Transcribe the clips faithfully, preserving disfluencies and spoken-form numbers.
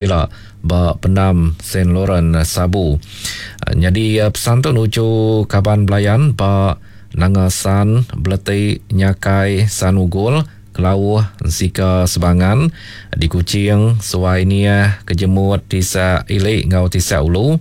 Ila ba Pendam Saint Laurent Sabu. Nyadi pesan tu nuju kaban belayan ba Nanga San, Beleti, Nyakai, San Ugol, Kelauh, Ensika Sebangan, di Kuching, Suai Niah, Kejemut, Tisak Ili enggau Tisak Ulu,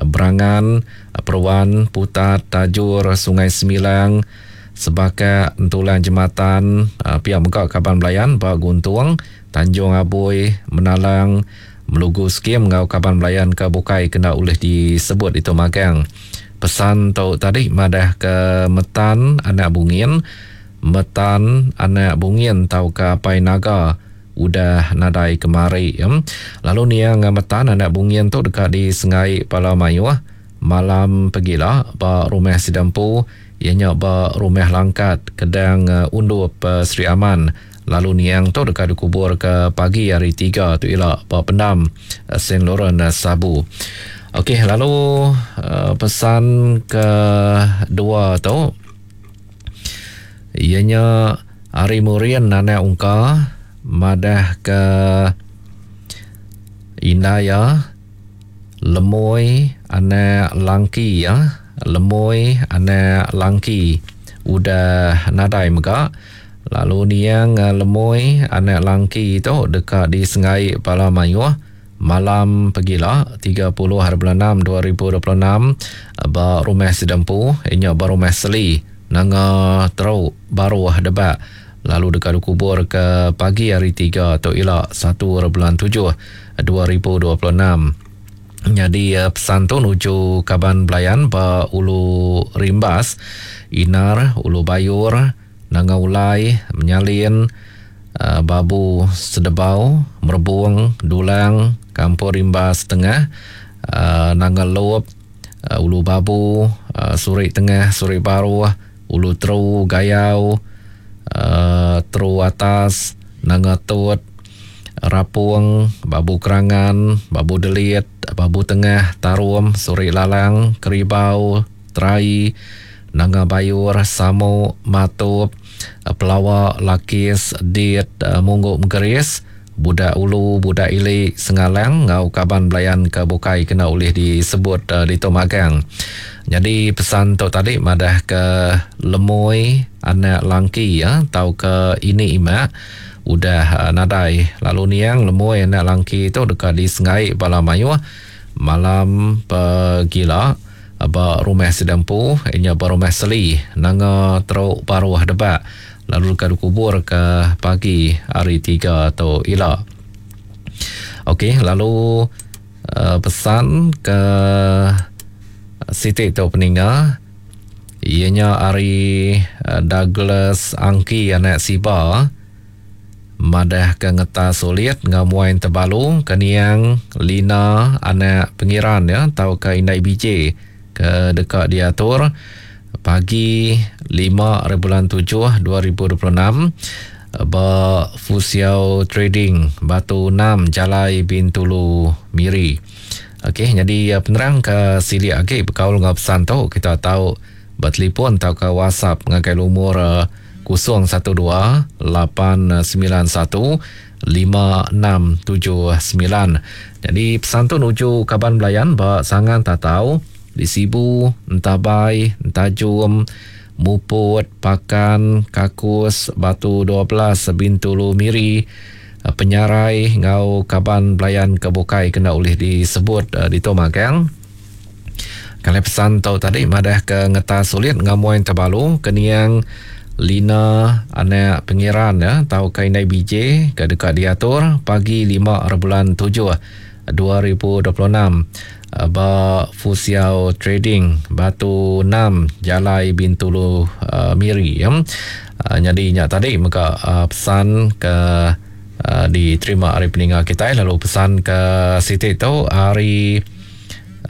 Berangan, Peruan, Putat, Tajur, Sungai Semilang, Sebakak, Entulang Jematan, pia mega kaban belayan ba Guntung, Tanjung Abui, Menalang, Melugu Skim enggau kaban belayan ke bukai kena ulih disebut ditu magang. Pesan tu tadi madah ke Metan anak Bungin, Metan anak Bungin tauka Apai Naga udah nadai kemari. Lalu niang Metan anak Bungin tu deka disenggai pala mayuh malam pegila ba rumah sida empu iya nya ba Rumah Langkat Kedang Undup Sri Aman. Lalu niang tu deka dikubur ke pagi hari tiga tu ila ba Pendam Saint Laurent Sabu. Okey, lalu uh, pesan ke dua tu iya nya ari Murin anak Ungka madah ke indai iya Lemoi anak Langki ya, Lemoi anak Langki udah nadai mega. Lalu niang Lemoi anak Langki tu deka disenggai bala mayuh malam pegila tiga puluh hari bulan enam dua ribu dua puluh enam ba rumah Sidempu inya ba rumah Seli Nanga Teruk Baruh Debak, lalu deka dikubur ke pagi hari tiga tu ila satu hari bulan tujuh dua ribu dua puluh enam. Nyadi pesan tu nuju kaban belayan ba Ulu Rimbas, Inar, Ulu Bayur, Nanga Ulai, Menyalin, Babu Sedebau, Merebung, Dulang, Kampung Rimbas Tengah, Nanga Lop, Ulu Babu, Surik Tengah, Surik Baruh, Ulu Teru, Gayau, Teru Atas, Nanga Tut, Rapung, Babu Kerangan, Babu Delit, Babu Tengah, Tarum, Surik Lalang, Keribau, Terai, Nanga Bayur, Samuk, Matup, Pelawak, Lakis, Dit, Mungguk Mengkeris, Budak Ulu, Budak Ili, Sengalang ngau kaban belayan ke bukai kena ulih disebut uh, ditu magang. Jadi pesan tu tadi madah ke Lemoi anak Langki ya tau ke ini imak udah uh, nadai. Lalu niang Lemoi anak Langki tu deka disenggai bala mayuh malam pegila ba rumah Sidempu inya ba rumah Seli Nanga Teruk Baruh Debak, lalu deka dikubur ke pagi hari tiga tu ila. Okey, lalu uh, pesan ke Siti tu peninga ianya ari uh, Douglas Angki anak Siba madah ke ngetas sulit ngamuain tebalu ke niang Lina anak Pengiran ya tau ke Indai B J ke deka diatur pagi lima hari bulan tujuh dua ribu dua puluh enam ba Fusiao Trading Batu enam Jalai Bintulu Miri. Okey, jadi penerang ke silik agi bekaul ngau pesan tu kita tahu bertelefon atau ke WhatsApp ngagai lumur kosong satu dua lapan sembilan satu lima enam tujuh sembilan. Jadi pesan tu nuju kaban belayan ba Sangan Tatau di Sibu, Entabai, Entajum, Muput, Pakan, Kakus, Batu dua belas, Bintulu Miri, Penyarai ngau kaban belayan ke bukai kena ulih disebut uh, di tu magang. Kalau pesan tu tadi madah ke ngetas sulit ngamuin terbalu keniang Lina anak Pengiran ya tau ke Indai B J ke dekat diatur pagi lima hari bulan tujuh dua ribu dua puluh enam ba Fusiao Trading Batu enam Jalai Bintulu uh, Miri ya. Uh, jadi nya tadi mega uh, pesan ke uh, diterima hari peninga kita, lalu pesan ke Siti tu hari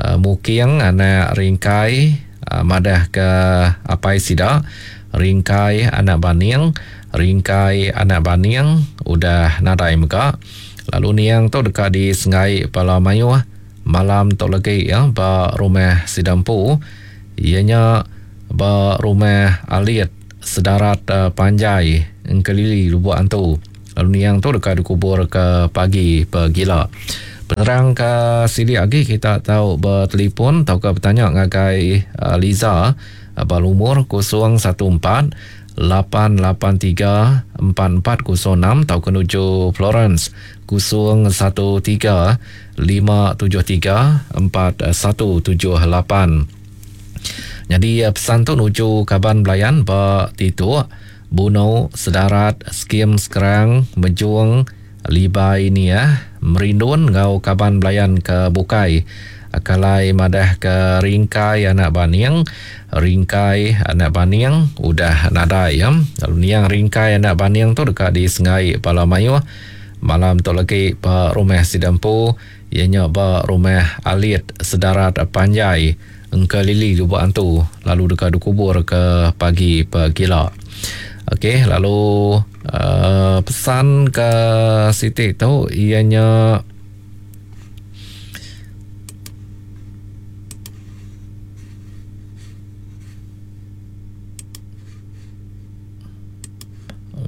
uh, Muking anak Ringkai uh, madah ke apai sida Ringkai anak Baning, Ringkai anak Baning udah nadai mega. Lalu niang tu deka disenggai pala mayuh malam tu lagi ya ba rumah Sidampu ianya ba rumah Alit Sedarat uh, Panjai Engkelili Lubuk Antu. Lalu niang tu deka dikubur ke pagi pegila. Penerang ke silik agi kita tau bertelefon tauka bertanya ngagai uh, Liza ba lumur kosong satu empat lapan lapan tiga empat empat kosong enam tauka nuju Florence kosong satu tiga lima tujuh tiga empat satu tujuh lapan. Jadi pesan tu nuju kaban belayan ba Tituk, Buno, Sedarat, Skim Sekerang, Mejung, Libai ni ya, Merindun ngau kaban belayan ke Bukai. Kalai madah ke Ringkai anak Baning, Ringkai anak Baning udah nadai ya. Lalu niang Ringkai anak Baning tu dekat di Sengai Pala Mayuh. Malam tu lagi ba rumah Sidampu, ianya ba rumah Alit Sedarat Panjai Engkelili Lubuk Antu, lalu dekat dikubur ke pagi pegila. Okey, lalu uh, pesan ke Siti tu ianya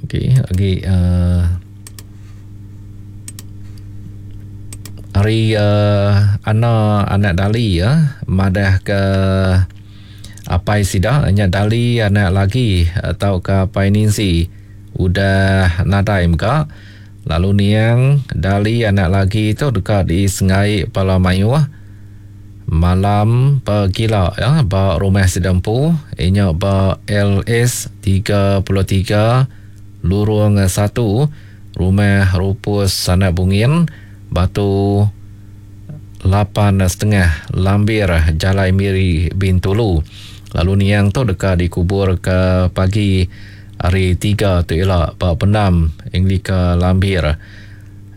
okey, lagi uh, hari uh, Ana anak Dali ya, madah ke apai sida nya Dali anak lagi atau ke apai Ninsi udah nadai mega. Lalu niang Dali anak lagi tu dekat di Sengai Pala Mayuh malam pegila ya, ba rumah Sidampu inya ba L S tiga puluh tiga Lurung satu Rumah Rupus Sanak Bungin Batu lapan setengah Lambir Jalai Miri Bintulu. Lalu niang tu dekat dikubur ke pagi hari tiga tu ialah ba pendam Anglika Lambir.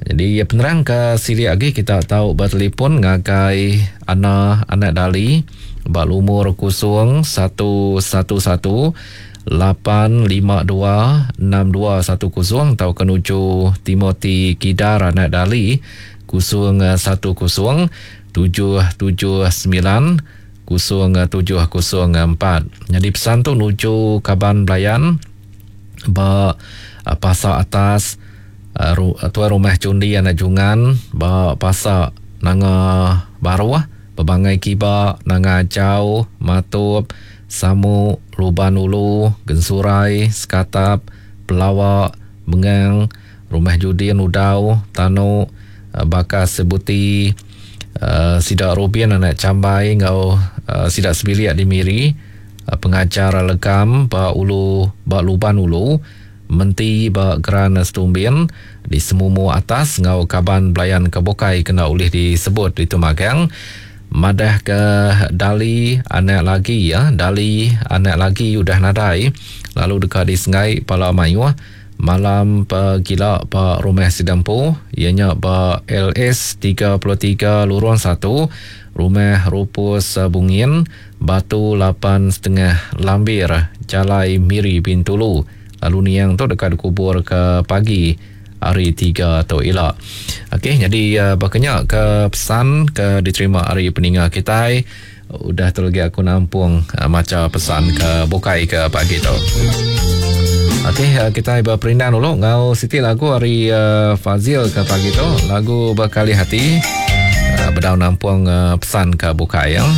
Jadi penerang ke silik lagi kita tahu bertelefon ngagai Ana anak Dali ba lumur kosong satu satu satu lapan lima dua enam dua satu kosong atau kenuju Timothy Kidar anak Dali kosong satu kosong tujuh tujuh sembilan kosong tujuh kosong empat. Jadi pesan tu nuju kaban belayan ba pasar atas tuan rumah Cundi anak Jungan ba pasar Nanga Baruah Bebangai Kiba Nanga Jauh Matup Samu Luban Ulu Gensurai Sekatap Pelawak Mengang Rumah Judin Udau Tanu Bakas Sebuti uh, Sidak Rubin anak Cambai ngau uh, Sidak Sebiliak di Miri, uh, pengajar Legam ba Ulu ba Luban Ulu Menti ba Geran Setumbin di Semumu Atas ngau kaban belayan kebukai kena ulih disebut di Tumagang. Madah ke Dali anak lagi ya, Dali anak lagi udah nadai lalu dekat di Sengai Pala Mayuh malam pegila ba rumah Sidampu ianya ba L S tiga puluh tiga Lurung satu Rumah Rupus Bungin Batu lapan setengah Lambir Jalai Miri Bintulu. Lalu niang tu dekat dikubur ke pagi hari tiga tu ila. Okey, jadi uh, bakanya ke pesan ke diterima hari peninga kita. Udah tu lagi aku nampung uh, maca pesan ke bukai ke pagi tu. Okey, uh, kita berperindang dulu ngau siti lagu hari uh, Fazil ke pagi tu, lagu Berkali Hati. Uh, bedau nampung uh, pesan ke bukai ya.